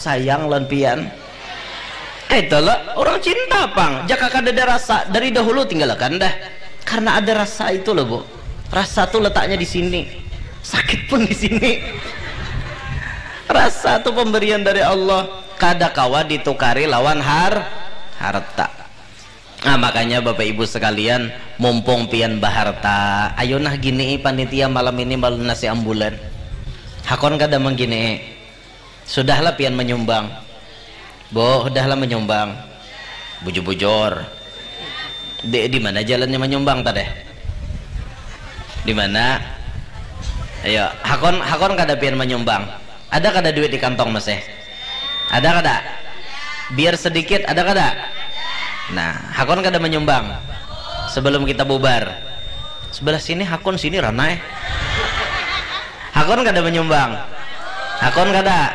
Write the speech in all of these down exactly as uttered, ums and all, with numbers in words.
sayang lawan pian. Itu lo, orang cinta pang. Jaka kada ada rasa, dari dahulu tinggalakan dah. Karena ada rasa itu loh, Bu. Rasa tuh letaknya di sini. Sakit pun di sini. Rasa tuh pemberian dari Allah. Kada kawa ditukari lawan har harta. Nah, makanya Bapak Ibu sekalian, mumpung pian baharta, ayo nah gini panitia malam ini malunasi ambulan. Hakon kada menggini. Sudahlah pian menyumbang. Bu, sudahlah menyumbang. Bujur-bujur. Di, di mana jalannya menyumbang tadi? Di mana? Ayo, hakon hakon kada pian menyumbang. Ada kada duit di kantong masih? Ada kada? Biar sedikit, ada kada? Nah, hakon kada menyumbang sebelum kita bubar. Sebelah sini hakon, sini ranai. Hakon kada menyumbang? Hakon kada?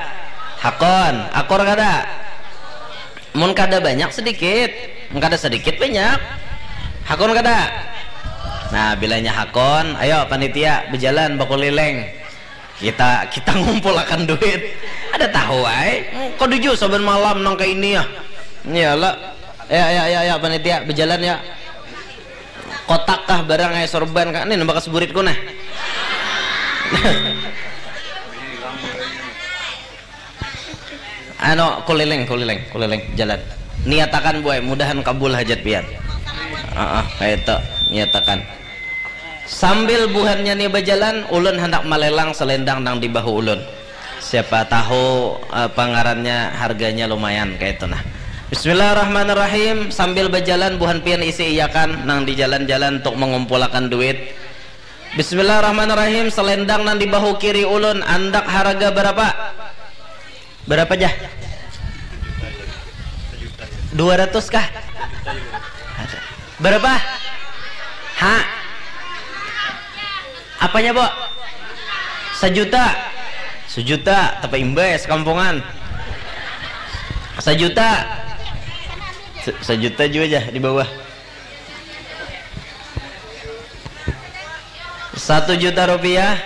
Hakon, akur kada? Mun kada banyak sedikit, mun kada sedikit banyak. Hakon kada? Nah, bilanya hakon, ayo panitia bejalan bakuliling. Kita kita ngumpulakan duit. Ada tahu ai. Kada jua saban malam nang kaini ya. Iyalah. Ya ya ya ya panitia bejalan ya. Kotak kah barang ai, sorban kah? Nih nambah buritku nah. Anu, kuliling, kuliling, kuliling, jalan. Niatakan buai, mudahan kabul hajat pian. Ah, ah, kayak itu, niatakan. Sambil buhannya nih berjalan, ulun hendak melelang selendang nang di bahu ulun. Siapa tahu eh, pangarannya harganya lumayan kayak itu nah. Bismillahirrahmanirrahim. Sambil berjalan buhan pian isi iyakan nang di jalan-jalan untuk mengumpulakan duit. Bismillahirrahmanirrahim. Selendang nang di bahu kiri ulun andak harga berapa? Berapa jah? Dua ratus kah? Berapa? Ha? Apanya, Bu? Sejuta. Sejuta, tapa imbas kampungan. Sejuta. Se- sejuta juga jah di bawah. Satu juta rupiah.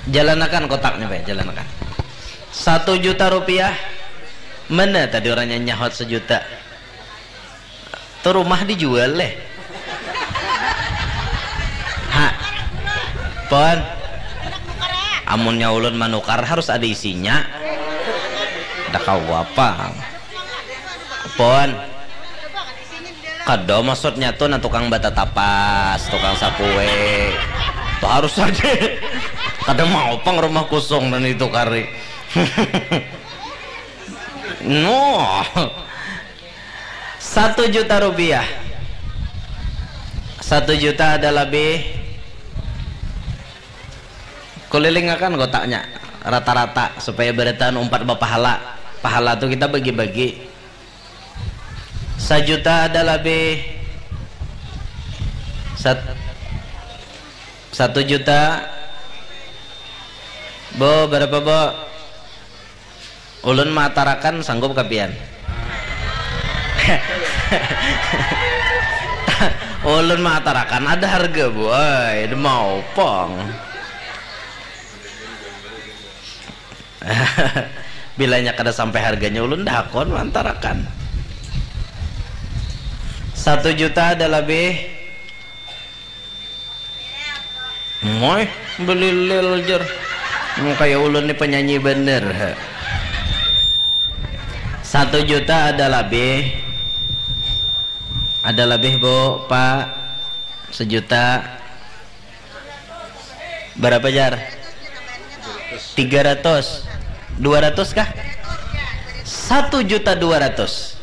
Jalanakan kotaknya, Pak, jalanakan. Satu juta rupiah. Mana tadi orangnya nyahot sejuta? Tuh rumah dijual leh. Ha. Pon. Amunnya ulun manukar harus ada isinya. Ada kawa apa? Pon. Kada maksudnya tuh nah tukang bata tapas, tukang sakue. Tuh harus ada. Kada mau pang rumah kosong dan itu kari. No. Satu juta rupiah. Satu juta ada lebih. Kulilingakan kotaknya rata-rata supaya barataan umpat bapahala. Pahala tuh kita bagi-bagi. Sajuta ada lebih. Sat- satu juta. Bo, berapa, Bo? Ulun maatarakan sanggup kapian? Ulun maatarakan ada harga buai, ada maupang. Bilanya kada sampai harganya ulun dah hakon maantarakan. Satu juta ada lebih. Moy, belilil jer. Hmm, kayak ulun ni penyanyi bener. Satu juta ada lebih. Ada lebih, Bu, Pak? Sejuta. Berapa, Jar? Tiga ratus. Dua ratus kah? Satu juta dua ratus.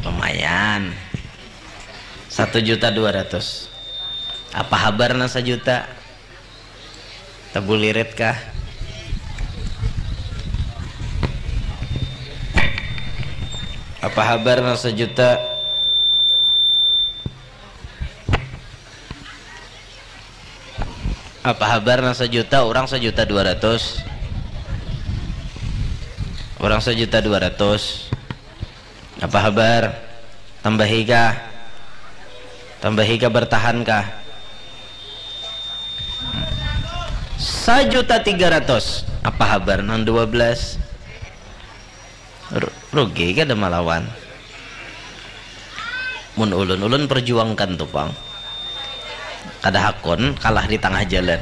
Lumayan. Satu juta dua ratus. Apa habar nang sajuta? Tabulirit kah? Apa habar nang sajuta? Apa habar nang sajuta? Orang sajuta dua ratus. Orang sajuta dua ratus. Apa habar? Tambahi kah? Tambahi kah, bertahan kah? Sajuta tiga ratus. Apa habar nang dua belas? Ru-, rugi kada malawan. Mun ulun, ulun perjuangkan tu pang. Kada hakun kalah di tangah jalan.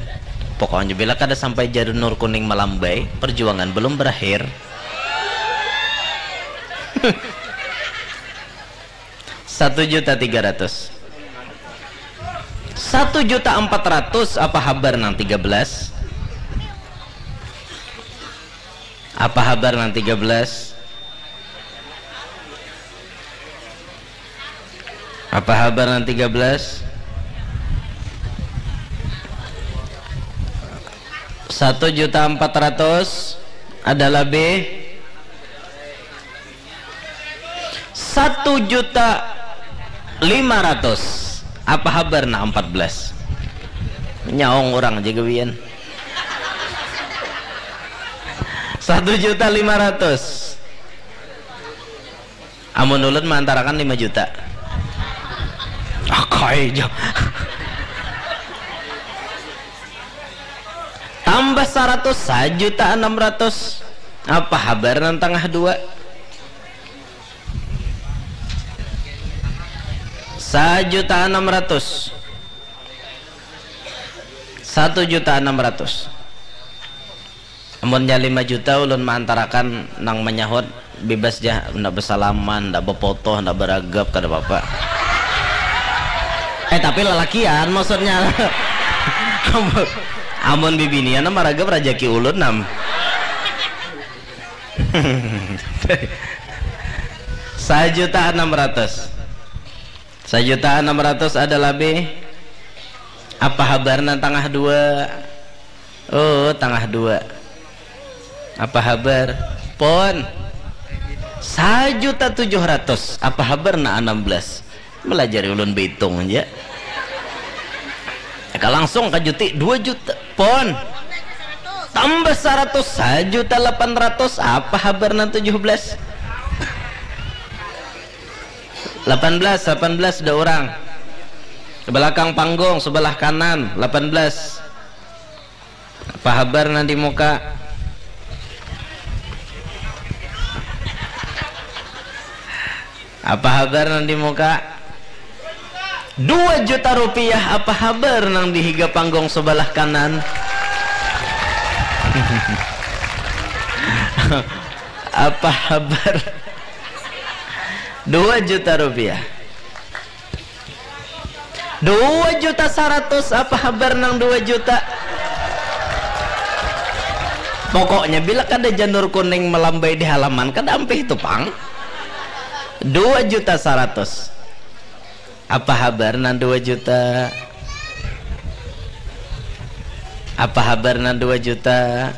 Pokoknya bila kada sampai janur kuning melambai, perjuangan belum berakhir. Satu juta tiga ratus. Satu juta empat ratus, apa habar nang tiga belas? Apa habar nang tiga belas? Apa habar nang tiga belas? Satu juta empat ratus, ada lebih? Satu juta lima ratus. Apa habar nak empat belas? Nyaung orang aja gawian. Satu juta lima ratus. Amun ulun maantarakan lima juta. Akai ja. Tambah saratus, sajuta enam ratus. Apa habar nang tangah dua? Sajuta enam ratus. Satu juta enam ratus. Amunnya lima juta ulun maantarakan nang manyahut bibas ja, handak basalaman, handak bapoto, handak baragap, kada papa. Eh, tapi lalakian maksudnya. Amun, amun bibinian am maragap rajaki ulun am. Sajuta enam ratus. Sajuta enam ratus ada labih. Apa habar nang tangah dua? Oh, tangah dua. Apa habar? Pon. Sajuta tujuh ratus. Apa habar nang anam belas? Melajari ulun baitung ja. Eka langsung kajuti dua juta. Pon. Tambah saratus, sajuta lapan ratus. Apa habar nang tujuh belas? Lapan belas, lapan belas ada orang. Belakang panggung, sebelah kanan, lapan belas. Apa habar nang di muka? Apa habar nang di muka? Dua juta rupiah, apa habar nang di higa panggung sebelah kanan? Apa habar? Dua juta rupiah. Dua juta saratus, apa habar nang dua juta? Pokoknya bila kada janur kuning melambai di halaman, kada ampih tu pang. Dua juta saratus. Apa habar nang dua juta? Apa habar nang dua juta?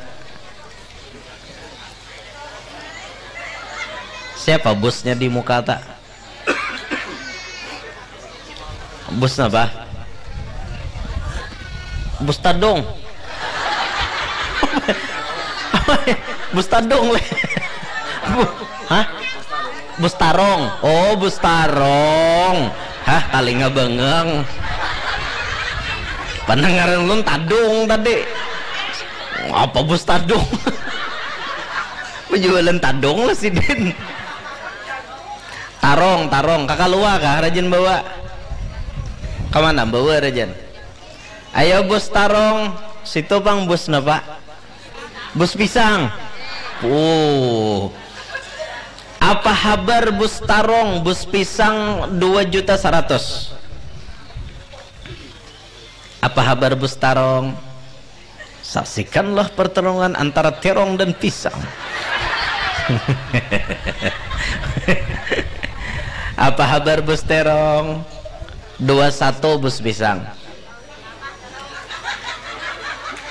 Siapa bosnya di muka ta? Bos napa? Bos tadung. Bos tadung leh. Bu-, hah? Bos tarong. Oh, bos tarong. Hah, kalinga bangang. Pandangaran ulun tadung tadi. Apa bos tadung? Penjualan tadung lah sidin. Tarong, tarong. Kakalua kah rajin bawa? Kamana bawa rajin? Ayo bus tarong, situ pang bus napa? Bus pisang. Uh. Apa habar bus tarong, bus pisang dua juta saratus? Apa habar bus tarong? Saksikanlah pertarungan antara terong dan pisang. Apa habar bus terong? Dua satu bus pisang.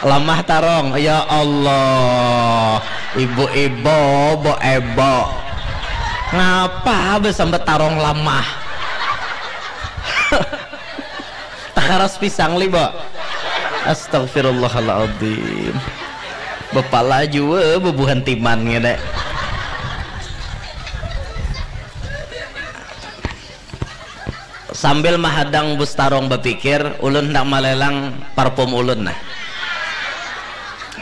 Lamah tarong, ya Allah. Ibu-ibu, bu ebo. Ngapa besambat tarong lamah? Takaras pisang li, Bo. Astagfirullahaladzim. Bepala jua bebuhan timan ngene. Sambil mahadang bus tarong bapikir, ulun handak malelang parfum ulun nah.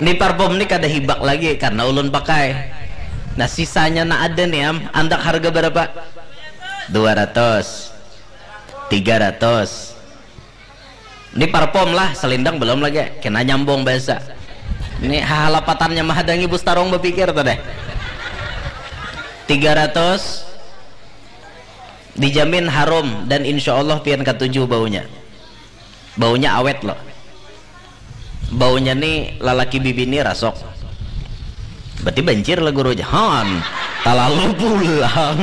Ini parfum ni kada hibak lagi karena ulun pakai. Nah, sisanya na ada nih, am. Andak harga berapa? Dua ratus. Tiga ratus. Ini parfum lah, selindang belum lagi. Kena nyambung bahasa. Ini halapatannya mahadangi Bus Tarong bapikir tuh deh. Tiga ratus, dijamin harum dan insya Allah pian katuju baunya. Baunya awet loh. Baunya nih lalaki bibini rasok. Berarti bancir lah guru, jahan. Talalu pulang.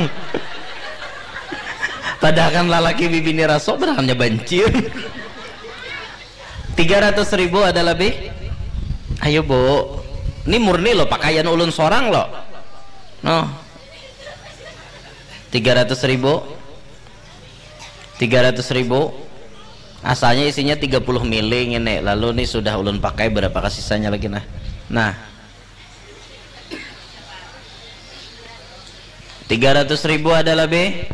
Padahal kan lalaki bibini rasok, padahal bancir. Tiga ratus ribu ada lebih? Ayo, Bu. Ini murni loh, pakaian ulun sorang loh. Noh. Tiga ratus ribu. Tiga ratus ribu. Asalnya isinya tiga puluh mili ini. Lalu nih sudah ulun pakai, berapa kasisanya lagi, nah. Nah. Tiga ratus ribu ada lebih?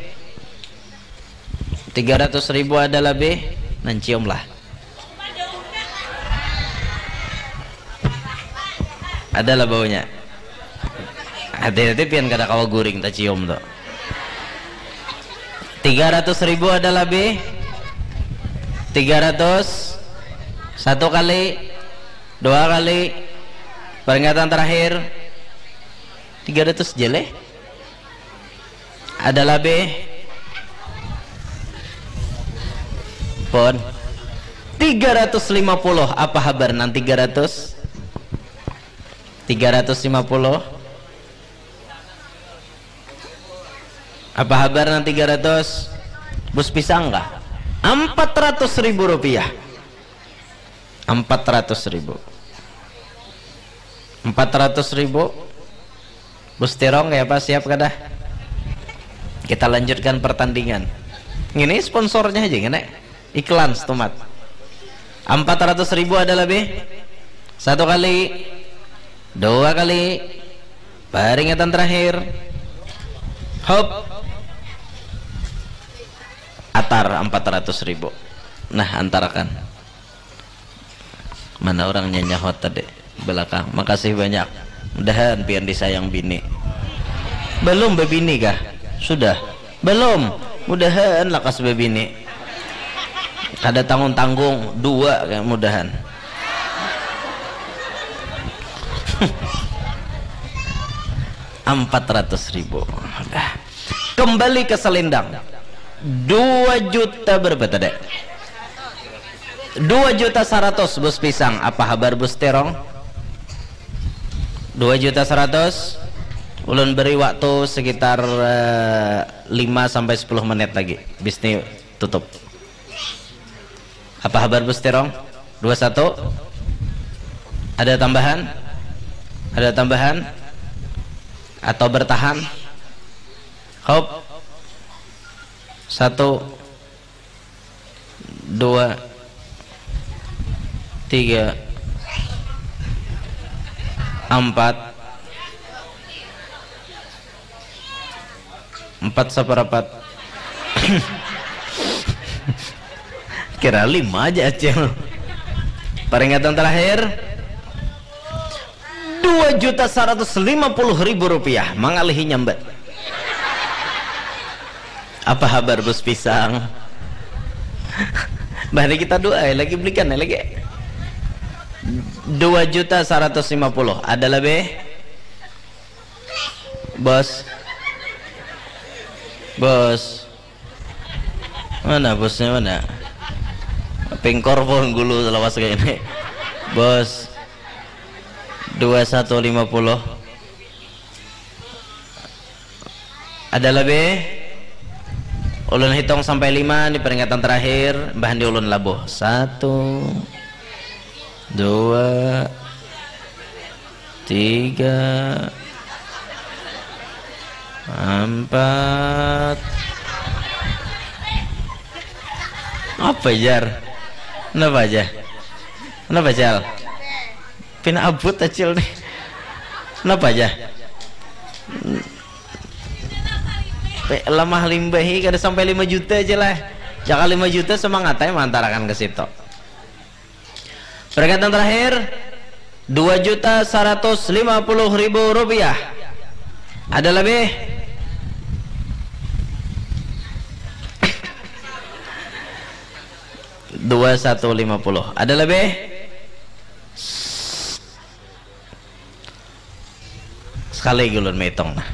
Tiga ratus ribu ada lebih? Nah, cium lah. Ada lah baunya. Hati-hati pian kada kawa guring tacium tuh. Tiga ratus ribu ada lebih? Tiga ratus. Satu kali, dua kali. Peringatan terakhir. Tiga ratus jeleh. Ada lebih? Pun. Tiga ratus lima puluh. Apa habar nang tiga ratus? Tiga ratus lima puluh. Apa habar nang tiga ratus? Bus pisang kah? Empat ratus ribu rupiah. Empat ratus ribu. Empat ratus ribu. Bus Tirong, ya apa, siap kada? Kita lanjutkan pertandingan. Ini sponsornya aja, ini iklan setumat. Empat ratus ribu ada lebih? Satu kali, dua kali, peringatan terakhir. Hop. Atar empat ratus ribu. Nah, antarakan. Mana orang nyanyahot tadi? Belakang. Makasih banyak. Mudahan pian disayang bini. Belum bebini kah? Sudah. Belum. Mudahan lakas bebini. Kada tanggung-tanggung, dua kayak mudahan. Empat ratus ribu. Udah. Kembali ke selendang. Dua juta berapa tadi? Dua juta seratus, Bus Pisang. Apa habar, Bus Terong? Dua juta seratus. Ulun beri waktu sekitar, eh, lima sampai sepuluh menit lagi. Bisnis tutup. Apa habar, Bus Terong? Dua satu. Ada tambahan? Ada tambahan? Atau bertahan? Hop. Satu, dua, tiga, empat. Empat saparapat. Kira lima aja, Acil. Peringatan terakhir. Dua juta seratus lima puluh ribu rupiah mangalihi nyambat. Apa habar, Bus Pisang? Mari kita doa, ya, lagi belikan, ya, lagi. Dua juta seratus lima puluh. Ada lebih? Bos. Bos. Mana bosnya, mana? Pingkor pun gulu selawas kayak ini. Bos. Dua satu lima puluh. Ada lebih? Ulun hitung sampai lima, ini peringatan terakhir. Bahan di ulun labuh. Satu, dua, tiga, empat. Apa, Jar? Kenapa aja? Kenapa, Cal? Pina abut, Acil, nih. Kenapa aja? Pe-, lamah limbahi, kada sampai lima juta aja lah. Jaka lima juta semangat aja mantarakan ke situ. Peringatan terakhir. Dua juta seratus lima puluh ribu rupiah. Ada lebih? Dua satu lima puluh. Ada lebih? Sekali gulun maitung nah.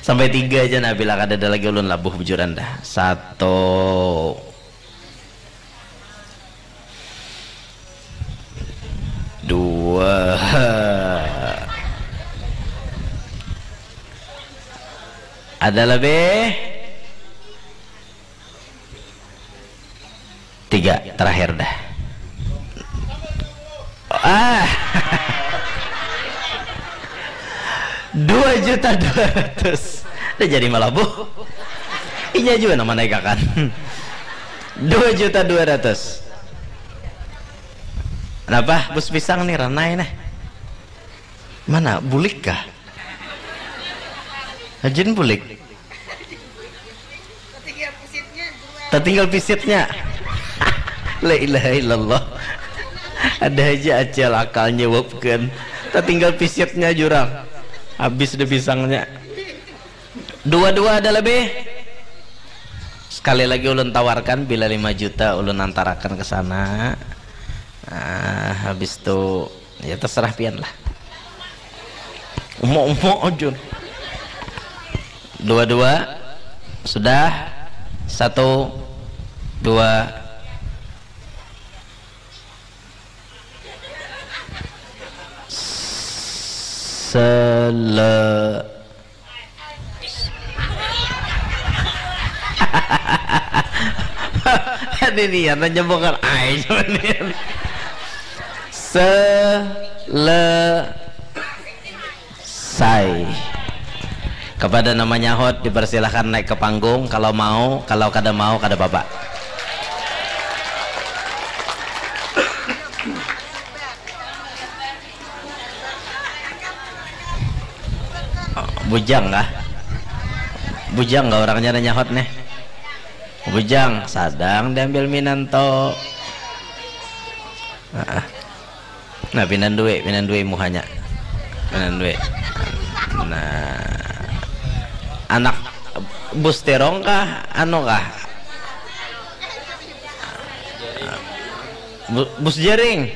Sampai tiga aja nah, bila kada ada lagi ulun labuh bujuran dah. Satu, dua. Ada lebih? Tiga, terakhir dah. Ah. Dua juta dua ratus. Udah jadi malabuh. Inya juga nama naikakan. Dua juta dua ratus. Kenapa? Bus pisang nih, ranai nih. Mana? Bulik kah? Hajin bulik. Tatinggal pisitnya. La ilaha illallah. Ada aja acel akalnya wapkan. Tatinggal pisitnya jurang. Habis deh pisangnya. Dua-dua ada lebih. Sekali lagi ulun tawarkan, bila lima juta ulun antarakan ke sana. Ah, habis tu ya terserah pian lah. Umok-umok aja. Dua-dua sudah. Satu, dua. Sele- Ini niat aja bukan ai cuman niat. Selesai. Kepada nama nyahut dipersilahkan naik ke panggung, kalau mau, kalau kada mau kada apa-apa. Bujang kah? Bujang kah orangnya nanya hot nih? Bujang, sadang diambil minanto. Nah, pinandui, pinandui muhanya. Pinandui. Nah, anak bus terong kah? Anu kah? Bu- bus jaring.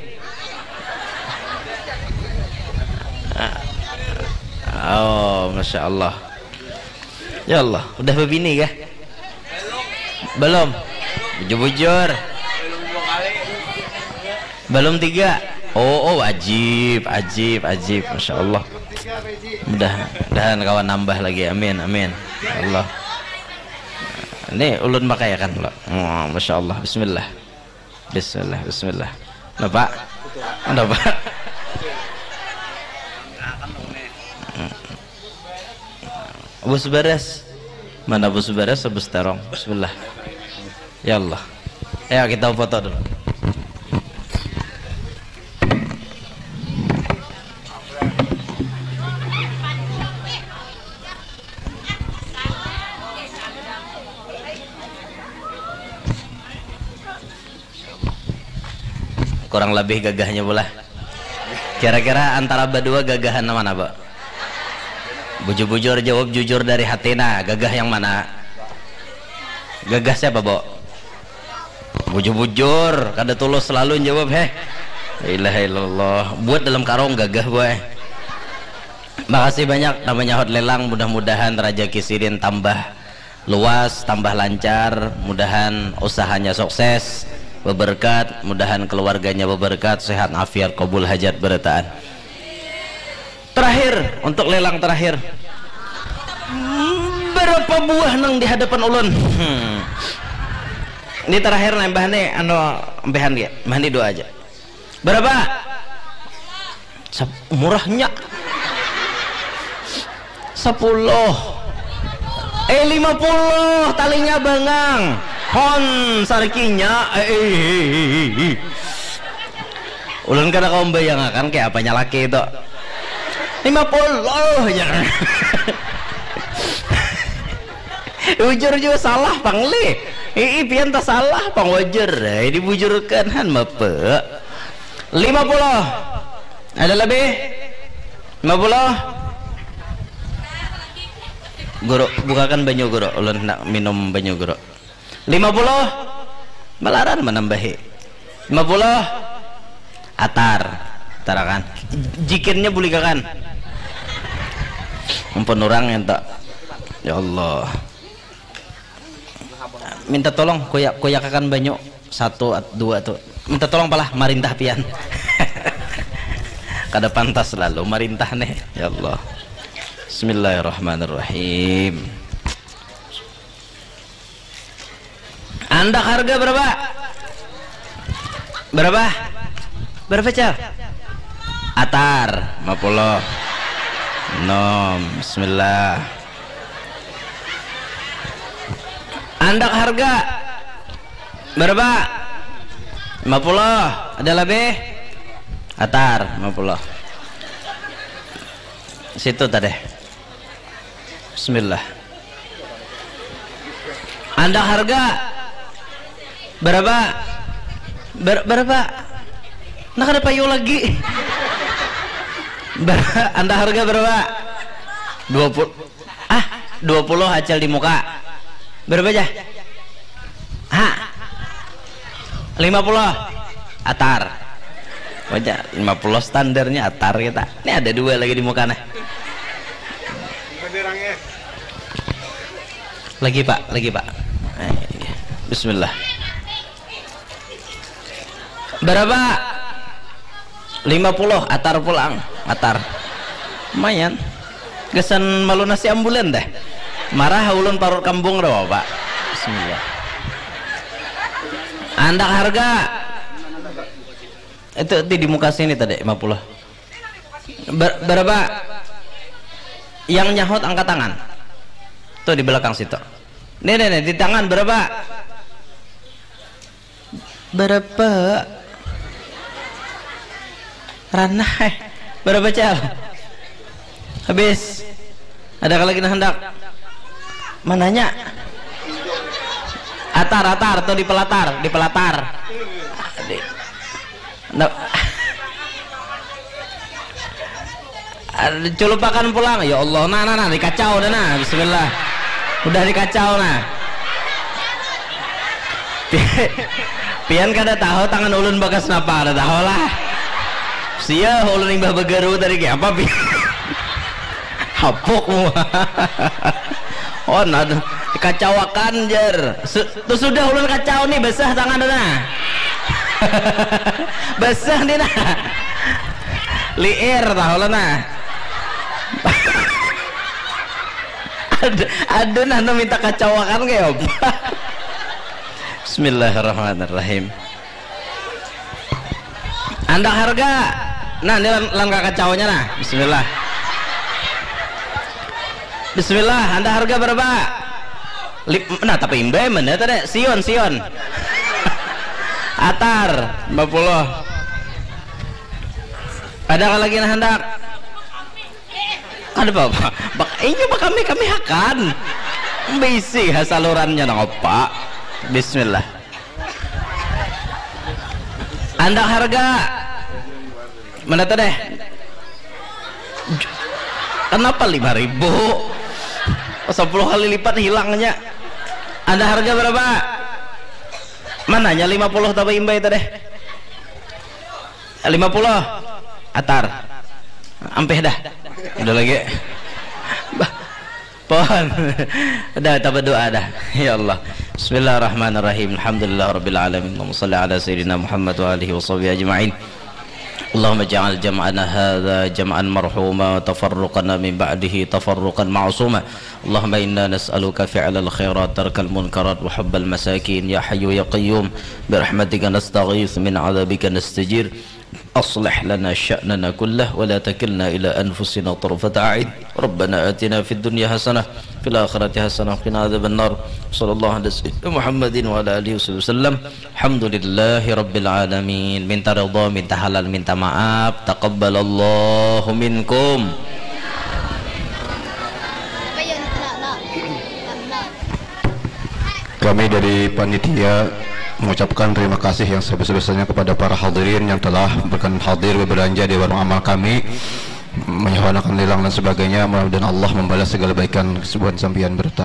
Oh, masya Allah. Ya Allah, udah berbini kah? Belum. Bujur-bujur. Belum tiga. Oh, oh, ajib, ajib, ajib. Masya Allah. Mudah, mudahan kawan nambah lagi. Amin, amin. Ya Allah. Ini ulun pakai ya kan, lo. Oh, masya Allah. Bismillah. Bismillah, bismillah. Napa? Napa? Bus beres. Mana bus beres, bus terong. Bismillah. Ya Allah. Ayo kita foto dulu. Kurang lebih gagahnya pula. Kira-kira antara badua gagahan mana, Bo? Bujur-bujur jawab jujur dari hati nah, gagah yang mana? Gagah siapa, Bo? Bujur-bujur, kada tulus selalu jawab, heh. La ilaha illallah. Buat dalam karung gagah, boy. Makasih banyak namanya hot lelang, mudah-mudahan rajaki sidin tambah luas, tambah lancar, mudahan usahanya sukses, beberkat, mudahan keluarganya beberkat, sehat afiat, kabul hajat berataan. Terakhir, untuk lelang terakhir. Berapa buah nang di hadapan ulun? Hmm. Ini terakhir nih, Mbah nih, anu, Mbahan ya, Mbah nih dua aja. Berapa? Sep- murahnya. Sepuluh. Eh, lima puluh, talinya bangang. Hon, sarkinya. Eh, eh, eh, eh, eh. Ulun kada kawa membayangakan kayak apanya laki itu. Lima puluh, ya. Bujur juga salah, pang, lih. Ii, pian tak salah, pang, wajar. Eh, dibujurkan, han, mapa. Lima puluh. Ada lebih? Lima puluh. Guru, bukakan banyu, Guru. Ulun hendak minum banyu, Guru. Lima puluh. Malaran menambahi. Lima puluh. Atar. Tarakan. Jikirnya bulikakan. Ampun orang yang tak. Ya Allah. Minta tolong kuyak kuyakakan banyu satu at- dua tuh. Minta tolong palah marintah pian. Kada pantas lalu marintah nih. Ya Allah. Bismillahirrahmanirrahim. Andak harga berapa? Berapa? Berapa, Cal? Atar, lima puluh. Nom, bismillah. Andak harga berapa? Lima puluh. Ada lebih? Atar, lima puluh. Situ tadi. Bismillah. Anda harga berapa? Ber- berapa? Nah, kada payu lagi. Ber- anda harga berapa? Dua puluh. Ah, dua puluh acil di muka. Berapa aja? Ha? Lima puluh. Atar. Wajar, lima puluh standarnya atar kita. Ini ada dua lagi di muka, nah. Lagi, Pak, lagi, Pak. Eh, iya. Bismillah. Berapa? Lima puluh, atar pulang. Atar. Lumayan. Gasan malunasi ambulan deh. Marah ulun parut kambung dah, Pak. Bismillah. Andak harga. Itu di, di muka sini tadi, lima puluh. Ber- berapa? Yang nyahut angkat tangan. Tuh di belakang situ. Nih, nih, nih, di tangan berapa? Berapa? Ranah, eh. Berapa, Cal? Habis. Ada lagi nah hendak? Mananya? Atar, atar, tuh di pelatar, di pelatar. Di- Nah. Ada culupakan pulang. Ya Allah, nah, nah, nah, dikacau dah, nah. Bismillah. Udah dikacau, nah. Pi- Pian kada tahu tangan ulun bakas napa, kada tahu lah. Sia ulun imbah bagaru tadi kayak apa, Pian? Hapuk muha. Oh, nah, dikacawakan, jar. Su- Tuh sudah ulun kacau nih, basah tangan tu nah. Basah nih nah. Liir tah ulun nah. Ada, ada nah, nu minta kacawakan kayak apa? Bismillahirrahmanirrahim. Andak harga. Nah, ini lan, lan kakacaunya nah. Bismillah. Bismillah, andak harga berapa? Lip, nah, tapi imbai mana tadi? Sion, Sion. Atar, lima puluh. Ada lagi nah hendak? Ada apa? Bak, ini bak kami, kami hakan. Bisi ha salurannya nang apa? Bismillah. Andak harga. Mana tuh deh? Kenapa lima ribu? Sepuluh kali lipat hilangnya. Anda harga berapa? Mananya lima puluh tapi imbai tadi? Lima puluh. Atar. Ampih dah. Udah lagi. Bah. Pohon. Dah, kita berdoa dah. Ya Allah. Bismillahirrahmanirrahim. Alhamdulillah Rabbil Alamin. Allahumma salli ala Sayyidina Muhammad wa alihi wa sahbihi ajma'in. اللهم اجعل جمعنا هذا جمعا مرحوما وتفرقنا من بعده تفرقا معصوما. اللهم إنا نسألك فعل الخيرات ترك المنكرات وحب المساكين يا حي يا قيوم برحمتك نستغيث من عذابك نستجير. أصلح لنا شأننا كله ولا تكلنا إلى أنفسنا طرفة عين. ربنا آتنا في الدنيا حسنة وفي الآخرة حسنة وقنا عذاب النار. صلى الله على سيدنا محمد وعلى آله وصحبه وسلم. Alhamdulillahi Rabbil Alamin. Minta ridha, minta halal, minta maaf. Taqabbalallahu minkum. Kami dari panitia mengucapkan terima kasih yang sebesar-besarnya kepada para hadirin yang telah berkenan hadir berbelanja di warung amal kami, menyuhanakan tilang dan sebagainya. Mudah-mudahan Allah membalas segala baikan kesubuhan sampian berta.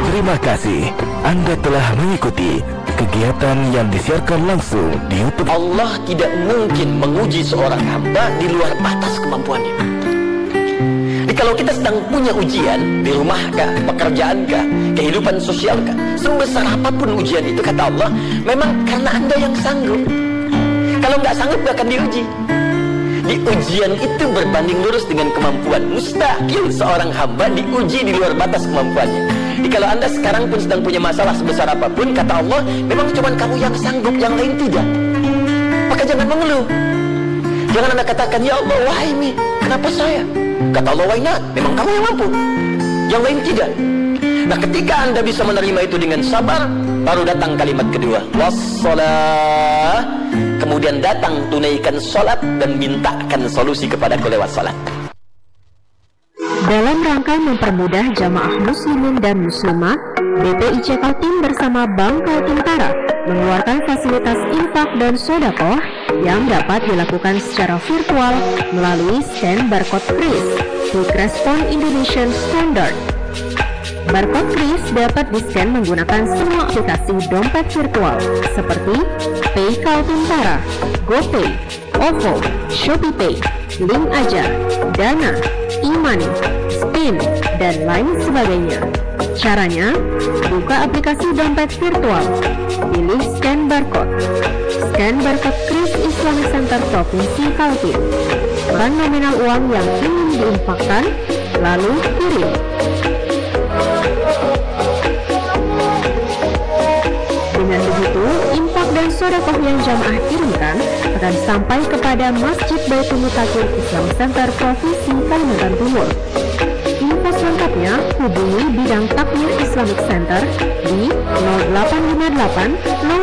Terima kasih Anda telah mengikuti kegiatan yang disiarkan langsung di YouTube. Allah tidak mungkin menguji seorang hamba di luar batas kemampuannya. Jadi kalau kita sedang punya ujian di rumah kah, pekerjaan kah, kehidupan sosial kah, sebesar apapun ujian itu, kata Allah, memang karena Anda yang sanggup. Kalau nggak sanggup, nggak akan diuji. Di ujian itu berbanding lurus dengan kemampuan. Mustahil seorang hamba diuji di luar batas kemampuannya. Jadi kalau Anda sekarang pun sedang punya masalah sebesar apapun, kata Allah, memang cuma kamu yang sanggup, yang lain tidak. Maka jangan mengeluh. Jangan Anda katakan, "Ya Allah, why me? Kenapa saya?" Kata Allah, "Why not? Memang kamu yang mampu. Yang lain tidak." Nah, ketika Anda bisa menerima itu dengan sabar, baru datang kalimat kedua, "Wassalah." Kemudian datang, tunaikan salat dan mintakan solusi kepadaku lewat salat. Dalam rangka mempermudah jamaah muslimin dan muslimah, B P I C Kaltim bersama Bank Kaltim Tara mengeluarkan fasilitas infak dan sodakoh yang dapat dilakukan secara virtual melalui scan barcode kris, Quick Response Indonesian Standard. Barcode kris dapat di-scan menggunakan semua aplikasi dompet virtual seperti Pay Kaltim Tara, GoPay, OVO, ShopeePay, Link Aja, Dana, e-money, Spin, dan lain sebagainya. Caranya, buka aplikasi dompet virtual, pilih scan barcode. Scan barcode kris Islamic Center Provinsi Kaltim. Tekan nominal uang yang ingin diinfakkan, lalu kirim. Dengan begitu, infak dan sodakoh yang jamaah kirimkan akan sampai kepada Masjid Baitul Mutakin Islam Center Provinsi Kalimantan Timur. Info selengkapnya hubungi bidang Takmir Islamic Center di nol delapan lima delapan nol